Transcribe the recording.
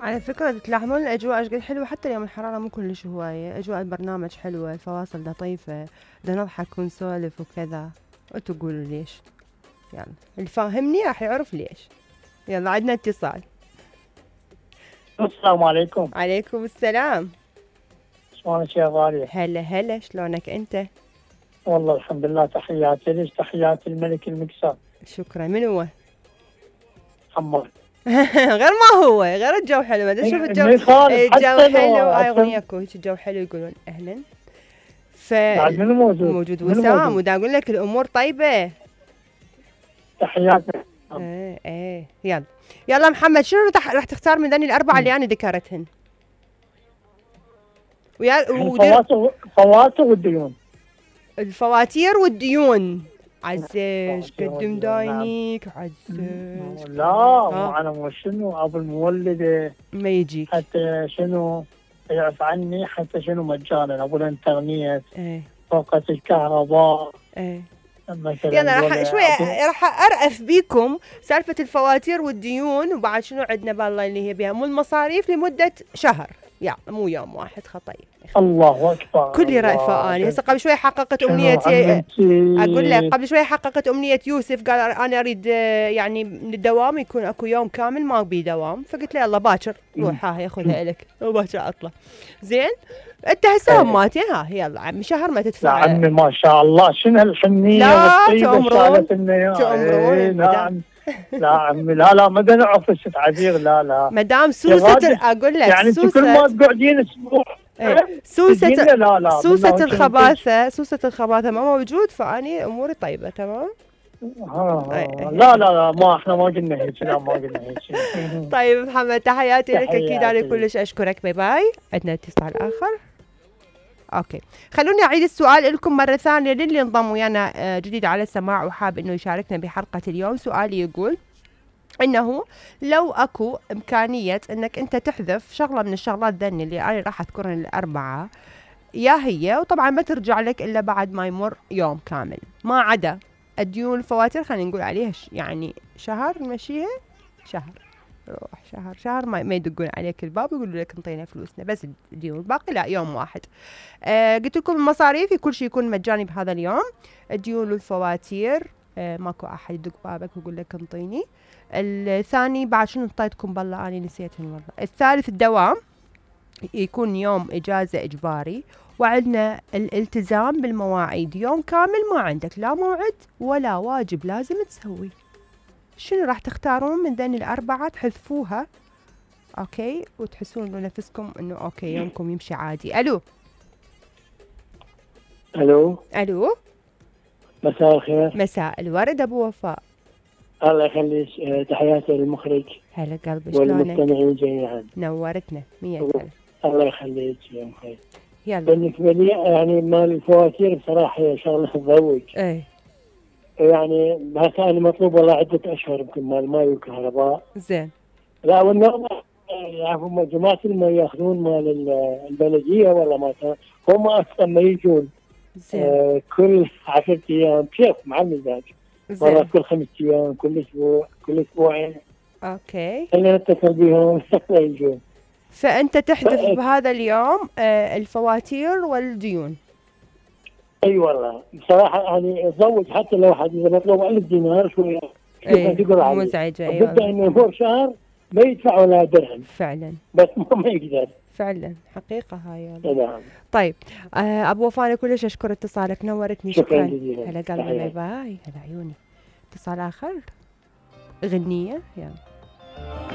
على فكرة تلاحظون الأجواء ايش قد حلوة، حتى اليوم الحرارة مو كلش هواية، أجواء البرنامج حلوة، الفواصل لطيفة، بدنا نضحك ونسولف وكذا. انتو قولوا ليش، يلا اللي فاهمني راح يعرف ليش. يلا عندنا اتصال. السلام عليكم. عليكم السلام. شلونك يا غالية؟ هلا هلا، شلونك انت؟ والله الحمد لله، تحياتي لك، تحياتي الملك المكسر. شكرا. من هو؟ حمار. غير ما هو، غير الجو حلو، ما ادري شوف الجو. الجو حلو، هاي اغنية اكو هيك الجو حلو يقولون اهلا. منو موجود؟ موجود وسام، ودا اقول لك الامور طيبة. تحياتي. ايه يلا يلا محمد، شنو راح تختار من ذني الاربعة اللي انا ذكرتهن؟ الفواتير والديون. الفواتير والديون. عزيز قدم داينيك عزيز. لا انا مو شنو ابو المولده ما يجيك حتى شنو يعرف عني، حتى شنو مجانا ابو الانترنت. طاقة الكهرباء. يلا راح ارأف بيكم سالفة الفواتير والديون، وبعد شنو عندنا بالله اللي هي بها مو المصاريف لمدة شهر، يعني مو يوم واحد خطير. الله اكبر. كلي رأفة اني هسه قبل شوي حققت امنيتي. اقول لك قبل شوي حققت امنية يوسف، قال انا اريد يعني من الدوام يكون اكو يوم كامل ما بي دوام، فقلت له يلا باكر روح ها خذها لك وباكر اطلع. زين انت هسه ماتي ها يلا عمي شهر ما تدفع. يا عمي ما شاء الله، شنو هالحنية والطيبة تأمرون تأمرون. لا عمي لا ما بدنا نعرف عبير. لا مدام سوسة اقول لك يعني انت كل ما تقعدين اسبوع سوسة الخباثة، سوسة الخباثة ما موجود، فاني اموري طيبة تمام. لا ما احنا ما قلنا هيك، لا ما قلنا هيك. طيب محمد تحياتي لك، اكيد انا كلش اشكرك. باي باي. عندنا اتصال اخر. اوكي خلوني اعيد السؤال لكم مره ثانيه للي انضم ويانا جديد على السماع وحاب انه يشاركنا بحلقه اليوم. سؤالي يقول انه لو اكو امكانيه انك انت تحذف شغله من الشغلات ذني اللي انا راح اذكرهن الاربعه، يا هي وطبعا ما ترجع لك الا بعد ما يمر يوم كامل، ما عدا الديون الفواتير خلينا نقول عليها يعني شهر نمشيها، شهر روح شهر ما يدقون عليك الباب ويقولوا لك انطينا فلوسنا، بس الديون الباقي لا يوم واحد. قلت لكم المصاريف كل شيء يكون مجاني بهذا اليوم. الديون والفواتير ماكو احد يدق بابك ويقول لك انطيني. الثاني بعد شنو انطيتكم بالله اني نسيتهم والله. الثالث الدوام يكون يوم اجازه اجباري، وعندنا الالتزام بالمواعيد، يوم كامل ما عندك لا موعد ولا واجب لازم تسوي. شنو راح تختارون من ذني الأربعة تحذفوها اوكي وتحسون انه نفسكم انه اوكي يومكم يمشي عادي؟ الو مساء الخير. مساء الورد ابو وفاء. الله يخليك، تحياتي للمخرج. هلا قلبي شلونك؟ والمستمعين جميعا نورتنا 100 ألف. الله يخليك يا مخرج. يلا بالنسبه لي يعني مال الفواتير بصراحه هي شغله تضوج. يعني هسه انا مطلوب والله عده اشهر يمكن مال الماء والكهرباء. زين. لا والنوم يعرفوا جماعه ما ياخذون مال البلديه ولا ما هم اصلا ما يجون. زين. كل 10 ايام كيف مع المزاج. مرة كل 5 ايام، كل اسبوع، كل اسبوعين. اوكي. خلينا نتصل بهم ما يجون. فانت تحذف بهذا اليوم الفواتير والديون. اي والله بصراحه يعني اتزوج حتى لو حد اذا مطلوب 1000 دينار شويه مزعجه. ايوه بدأ انه يمر شهر ما يدفع ولا درهم فعلا، بس ما يقدر فعلا حقيقه هاي. نعم. طيب ابو وفاء كلش اشكر اتصالك، نورتني. شكرا. هلا قلبي. باي باي. هلا عيوني. اتصال اخر، غنيه يلا.